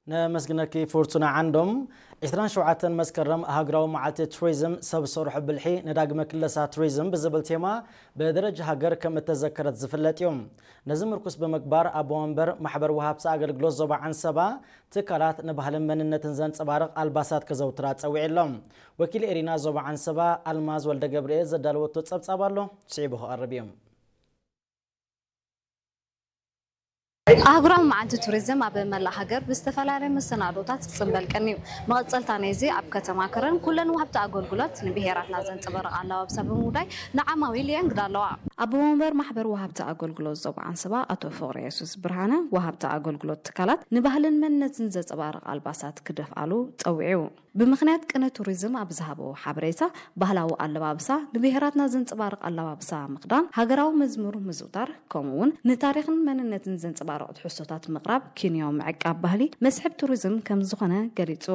ነመስግነኪ ፍርቱና ዓንዶም። ዕስራን ሸውዓተን መስከረም ሃገራዊ መዓልቲ ቱሪዝም ሰብ ሰርሖ ብልሒ ንዳግመ ክለሳ ቱሪዝም ብዝብል ቴማ ብደረጃ ሃገር ከም እተዘከረት ዝፍለጥ እዩ። ነዚ ምርኩስ ብምግባር ኣቦ ወንበር ማሕበር ወሃብቲ ኣገልግሎት ዞባ ዓንሰባ ትካላት ንባህልን መንነትን ዘንጸባርቕ ኣልባሳት ከዘውትራ ጸዊዑ ኣሎ። ወኪል ኤሪና ዞባ ዓንሰባ ኣልማዝ ወልደ ገብርኤል ዘዳለወቶ ጸብጻብ ኣሎ፣ ስዒቡ ክቐርብ እዩ። ኣህጉራዊ መዓልቲ ቱሪዝም ኣብ መላእ ሃገር ብዝተፈላለየ መሰናዶታት ክጽንበል ቀንዩ። መቐጸልታ ናይዚ ኣብ ከተማ ከረን ኩለን ወሃብቲ ኣገልግሎት ንብሄራትና ዘንጸባርቕ ኣለባብሳ ብምውዳይ ንዓማዊል የእንግዳ ኣለዋ። ኣቦ ወንበር ማሕበር ወሃብቲ ኣገልግሎት ዞባ ዓንሰባ ኣቶ ፍቕረ የሱስ ብርሃነ ወሃብቲ ኣገልግሎት ትካላት ንባህልን መንነትን ዘንጸባርቕ ኣልባሳት ክደፍኣሉ ጸዊዑ። ብምኽንያት ቅነ ቱሪዝም ኣብ ዝሃቦ ሓበሬታ፣ ባህላዊ ኣለባብሳ፣ ንብሄራትና ዘንጸባርቕ ኣለባብሳ ምኽዳን፣ ሃገራዊ መዝሙር ምዝውታር፣ ከምኡ እውን ንታሪኽን መንነትን ዘንጸባርቑ ትሕዝቶታት ምቕራብ ኪንዮ ምዕቃብ ባህሊ መስሕብ ቱሪዝም ከም ዝኾነ ገሊጹ።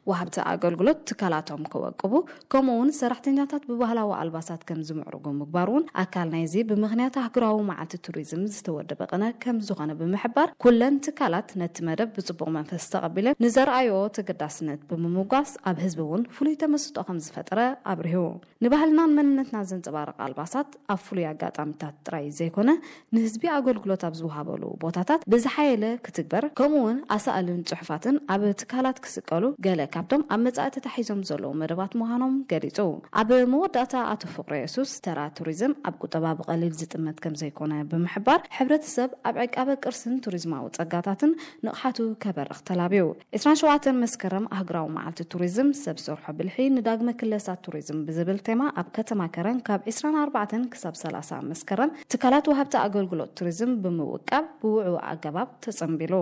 ወሃብቲ ኣገልግሎት ትካላቶም ከወቅቡ፣ ከምኡ እውን ሰራሕተኛታት ብባህላዊ ኣልባሳት ከም ዝምዕርጉ ምግባር እውን ኣካል ናይዚ ብምኽንያት ኣህጉራዊ መዓልቲ ቱሪዝም ዝተወደበ ቅነ ከም ዝኾነ ብምሕባር፣ ኩለን ትካላት ነቲ መደብ ብጽቡቕ መንፈስ ተቐቢለን ንዘርኣዮ ተገዳስነት ብምምጓስ ኣብ ህዝቢ እውን ፍሉይ ተመስጦ ከም ዝፈጠረ ኣብሪሁ። ንባህልናን መንነትና ዘንጸባርቕ ኣልባሳት ኣብ ፍሉይ ኣጋጣሚታት ጥራይ ዘይኮነ ንህዝቢ ኣገልግሎት ኣብ ዝወሃበሉ ቦታታት ብዝሓየለ ክትግበር፣ ከምኡ እውን ኣሳእልን ጽሑፋትን ኣብ ትካላት ክስቀሉ ገለ ካብቶም ኣብ መጻኢ ተታሒዞም ዘለዉ መደባት ምዃኖም ገሊጹ። ኣብ መወዳእታ ኣቶ ፍቕረ የሱስ ተራ ቱሪዝም ኣብ ቁጠባ ብቐሊል ዝጥመት ከም ዘይኮነ ብምሕባር፣ ሕብረተሰብ ኣብ ዕቃበ ቅርስን ቱሪዝማዊ ጸጋታትን ንቕሓቱ ከበርኽ ተላብዩ። ዕስራን ሸውዓተን መስከረም ኣህጉራዊ መዓልቲ ቱሪዝም ሰብ ሰርሖ ብልሒ ንዳግመ ክለሳ ቱሪዝም ብዝብል ቴማ ኣብ ከተማ ከረን ካብ ዕስራን ኣርባዕተን ክሳብ ሰላሳ መስከረም ትካላት ወሃብቲ ኣገልግሎት ቱሪዝም ብምውቃብ ብውዕው ኣገባብ ተጸንቢሉ።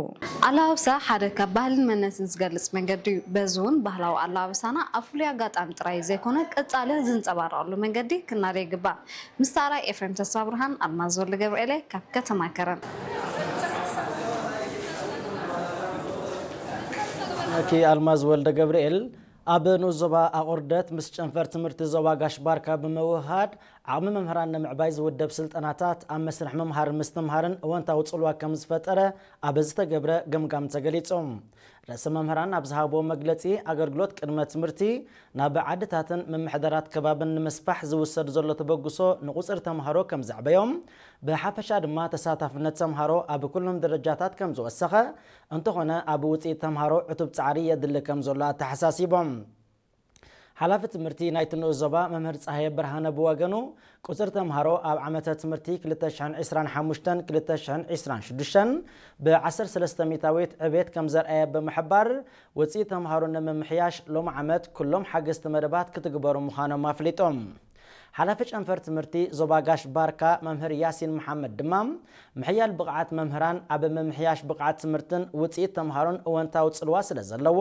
ኣለባብሳ ሓደ ካብ ባህልን መንነትን ዝገልጽ መንገዲ እዩ። በዚ እውን ባህላዊ ኣለባብሳና ኣብ ፍሉይ ኣጋጣሚ ጥራይ ዘይኮነ ቀጻሊ ዝንጸባረቐሉ መንገዲ ክናደ ይግባእ። ምስ ተራይ ኤፍሬም ተስፋ ብርሃን፣ ኣልማዝ ወልደ ገብርኤለ ካብ ከተማ ከረን። ኦኬ፣ ኣልማዝ ወልደ ገብርኤል ኣብ ንኡስ ዞባ ኣቑርደት ምስ ጨንፈር ትምህርቲ ዞባ ጋሽ ባርካ ብምውህሃድ ዓቕሚ መምህራን ንምዕባይ ዝውደብ ስልጠናታት ኣብ መስርሕ ምምሃር ምስትምሃርን እወንታዊ ጽልዋ ከም ዝፈጠረ ኣብ ዝተገብረ ገምጋም ተገሊጹ። ርእሰ መምህራን ኣብ ዝሃብዎ መግለጺ ኣገልግሎት ቅድመ ትምህርቲ ናብ ዓድታትን ምምሕዳራት ከባብን ንምስፋሕ ዝውሰድ ዘሎ ተበግሶ ንቁጽሪ ተምሃሮ ከም ዘዕበዮም፣ ብሓፈሻ ድማ ተሳታፍነት ተምሃሮ ኣብ ኩሎም ደረጃታት ከም ዝወሰኸ፣ እንተኾነ ኣብ ውጽኢት ተምሃሮ ዕቱብ ጻዕሪ የድሊ ከም ዘሎ ኣተሓሳሲቦም። ሓላፊ ትምህርቲ ናይቲ ንኡስ ዞባ መምህር ጸሃየ ብርሃነ ብወገኑ፣ ቁጽሪ ተምሃሮ ኣብ ዓመተ ትምህርቲ ክልተ ሽሕን ዕስራን ሓሙሽተን ክልተ ሽሕን ዕስራን ሽዱሽተን ብ ዓሰርተ ሰለስተ ሚእታዊት ዕቤት ከም ዘርኣየ ብምሕባር፣ ውጽኢት ተምሃሮ ንምምሕያሽ ሎም ዓመት ኩሎም ሓገዝቲ መደባት ክትግበሩ ምዃኖም ኣፍሊጦም። ሓላፊ ጨንፈር ትምህርቲ ዞባ ጋሽ ባርካ መምህር ያሲን መሓመድ ድማ፣ ምሕያል ብቕዓት መምህራን ኣብ ምምሕያሽ ብቕዓት ትምህርትን ውጽኢት ተምሃሮን እወንታዊ ጽልዋ ስለ ዘለዎ፣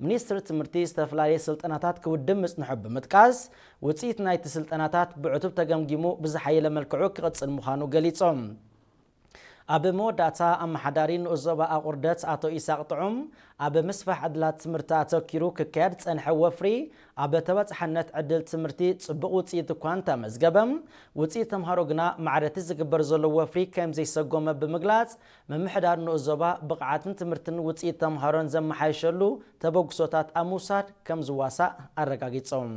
ሚኒስትሪ ትምህርቲ ዝተፈላለየ ስልጠናታት ክውድብ ምጽንሑ ብምጥቃስ፣ ውጽኢት ናይቲ ስልጠናታት ብዕቱብ ተገምጊሙ ብዝሓየለ መልክዑ ክቕጽል ምዃኑ ገሊጾም። ኣብ መወዳእታ ኣመሓዳሪ ንኡስ ዞባ ኣቑርደት ኣቶ ኢሳቕ ጥዑም፣ ኣብ ምስፋሕ ዕድላት ትምህርቲ ኣተኪሩ ክካየድ ዝጸንሐ ወፍሪ ኣብ ተበጻሕነት ዕድል ትምህርቲ ጽቡቕ ውጽኢት እኳ እንተመዝገበ፣ ውጽኢት ተምሃሮ ግና ማዕረ እቲ ዝግበር ዘሎ ወፍሪ ከም ዘይሰጎመ ብምግላጽ፣ ምምሕዳር ንኡስ ዞባ ብቕዓትን ትምህርትን ውጽኢት ተምሃሮን ዘመሓየሸሉ ተበግሶታት ኣብ ምውሳድ ከም ዝዋሳእ ኣረጋጊጾም።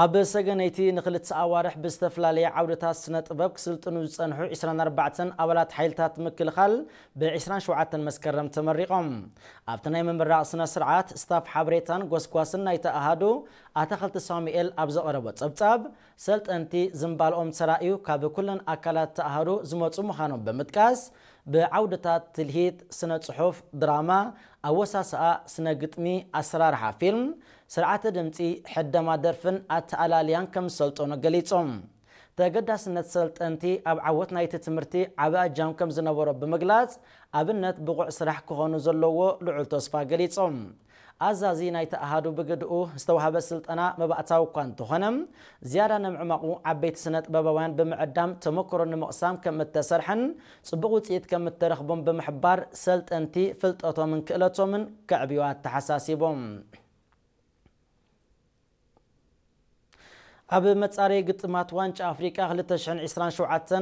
ኣብ ሰገነይቲ ንክልተ ኣዋርሕ ብዝተፈላለየ ዓውድታት ስነ ጥበብ ክስልጥኑ ዝጸንሑ ዕስራን ኣርባዕተን ኣባላት ሓይልታት ምክልኻል ብ ዕስራን ሸውዓተን መስከረም ተመሪቖም። ኣብቲ ናይ ምምራቕ ስነ ስርዓት ስታፍ ሓበሬታን ጎስጓስን ናይቲ ኣሃዱ ኣታኸልቲ ሳሙኤል ኣብ ዘቐረቦ ጸብጻብ፣ ሰልጠንቲ ዝምባልኦም ተራእዩ ካብ ኩለን ኣካላት ተኣሃዱ ዝመጹ ምዃኖም ብምጥቃስ፣ ብዓውድታት ትልሂት፣ ስነ ጽሑፍ፣ ድራማ፣ ኣወሳስኣ፣ ስነ ግጥሚ፣ ኣሰራርሓ ፊልም፣ ስርዓተ ድምጺ፣ ሕደማ ደርፍን ኣተኣላልያን ከም ዝሰልጠኑ ገሊጾም። ተገዳስነት ሰልጠንቲ ኣብ ዓወት ናይቲ ትምህርቲ ዓቢ ኣጃም ከም ዝነበሮ ብምግላጽ፣ ኣብነት ብቑዕ ስራሕ ክኾኑ ዘለዎ ልዑል ተስፋ ገሊጾም። ኣዛዚ ናይቲ ኣሃዱ ብግድኡ ዝተዋህበ ስልጠና መባእታዊ እኳ እንተኾነ፣ ዝያዳ ንምዕማቑ ዓበይቲ ስነ ጥበባውያን ብምዕዳም ተመክሮ ንምቕሳም ከም እተሰርሐን ጽቡቕ ውጽኢት ከም እተረኽቦም ብምሕባር፣ ሰልጠንቲ ፍልጠቶምን ክእለቶምን ከዕብዩ ኣተሓሳሲቦም። ኣብ መጻረዪ ግጥማት ዋንጫ ኣፍሪቃ ክልተ ሽሕን ዕስራን ሸውዓተን